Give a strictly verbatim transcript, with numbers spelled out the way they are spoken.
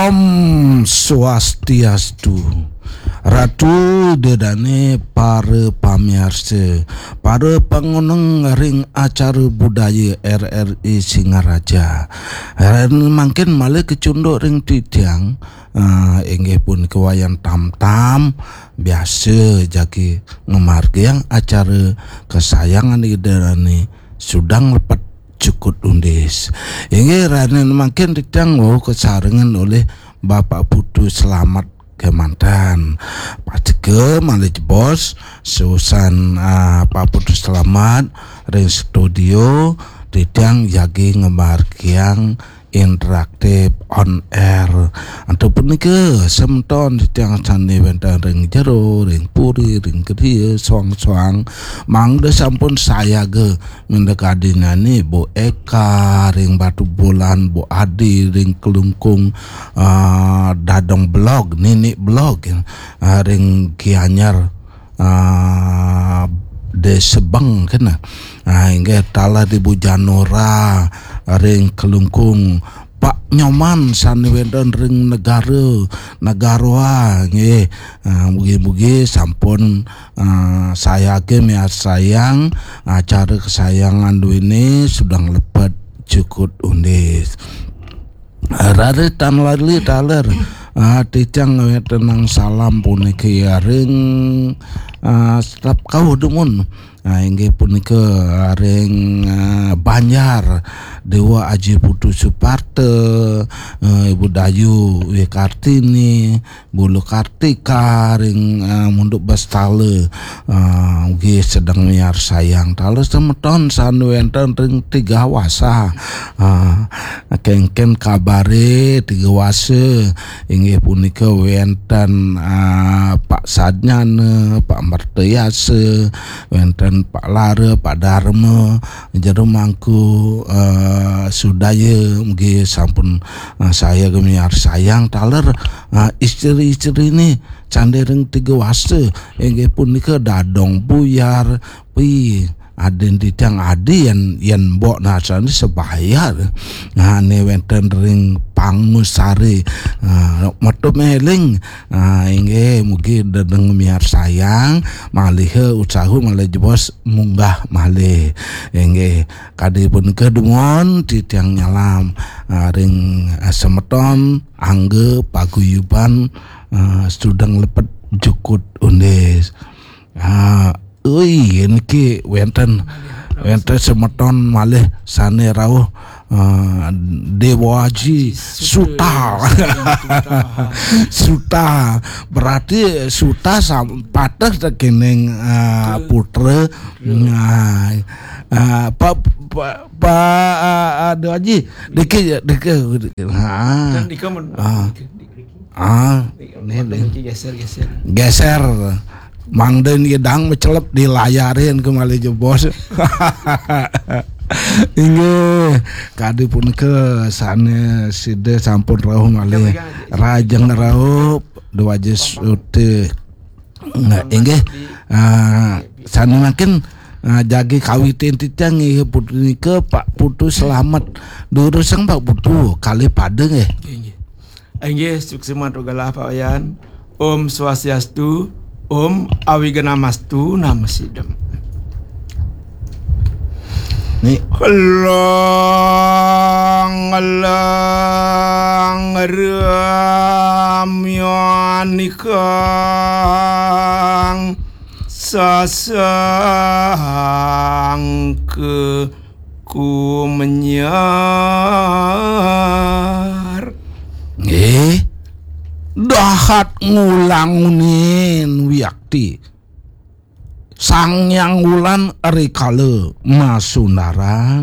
Om Swastiastu. Ratu Ida Dane, para pamiarsa, para pangoneng ring acara budaya R R I Singaraja. Ring mangkin malih kacunduk ring titiang, ah, inggih punika Wayan Tamtam, biasa jagi ngamargiang acara kesayangan Ida Dane, Sudang Lepet Jukut Undis. Inggih, rahayu mangkin titiang wau kasarengan olih Bapak Putu Slamet kemanten. Pastika malih jebos, susan, ah, Pak Putu Slamet ring studio, titiang jagi ngamargiang interaktif on air. Antuk punika semeton titiang sane wenten ring jero, ring puri, ring griya, soang-soang, mangda sampun sayaga minda kadinane Bu Eka ring Batubulan, Bu Adi ring Klungkung, ah, Dadong Blog, Nini Blog, ah, ring Gianyar, ah, Desa Beng kena. Ah, inggih taler Ibu Janora ring Klungkung, Pak Nyoman sane wenten ring Negara, Nagaroa, nggih. Ah, mugi-mugi sampun, ah, sayaga miarsayang acara kesayangan duene Sudang Lepet Jukut Undis. Raris tan lali taler, ah, titiang ngawetenang salam puniki ring, ah, setep kauh dumun. Ah, inggih punika ring, ah, Banjar, Dewa Aji Putu Suparta, ah, Ibu Dayu Wikartini, Bulu Kartika ring, ah, Munduk Bastala, ah, ugi sedeng miarsayang. Taler semeton sane wenten ring Tiga Wasa. Ah, kengken kabare Tiga Wasa, inggih punika wenten, ah, Pak Sadnyana, Pak Mertayasa, wenten Pak Lara, Pak Darma, Jero Mangku, ah, Sudaya, mugi sampun, ah, sayaga miarsayang taler, ah, istri-istrine sane ring Tiga Wasa, inggih punika Dadong Buyar, pi, adin titiang adi yen, yen mbok nasane sebaya. Nah, ne wenten ring Pangusari. Ah, metu meling. Ah, inggih mugi dedeng miarsayang, malih usaha malih jebos munggah malih. Inggih, kadi punika dumun titiang nyalam, ah, ring, ah, semeton angga paguyuban, ah, Sudang Lepet Jukut Undis. Ah, ui, niki wenten, wenten semeton malih sane rauh, ah, Dewa Aji Suta. Suta. Berarti Suta sam-, pateh tekening, ah, putra. Nah, ah, Pak, Pak, Pak, ah, ah, Dewa Aji, dikit, dikit, dikit. Ha. Dan dikit men-, ah. Dikit, dikit. Ah, nih, nih. Geser, geser. Geser. Mangda niki dang mecelep dilayarin ke malih jebos. Inggih, kadi punika sane sida sampun rauh malih. Rajeng rauh Dewa Aji Suta. Nah, inggih, ah, sane mangkin, ah, jagi kawitin titiang inggih punika Pak Putu Slamet. Durusang Pak Putu, kalih pada nggih. Inggih. Inggih, suksma mantuk galah Pak Wayan. Om Swastiastu, Om Awignamastu Namo Sidam. Nih. Lang lang ramyanikang sasangka kumenyar. Nggih. Dahat ngulangunin wiakti. Sang Hyang Wulan rikala masundaran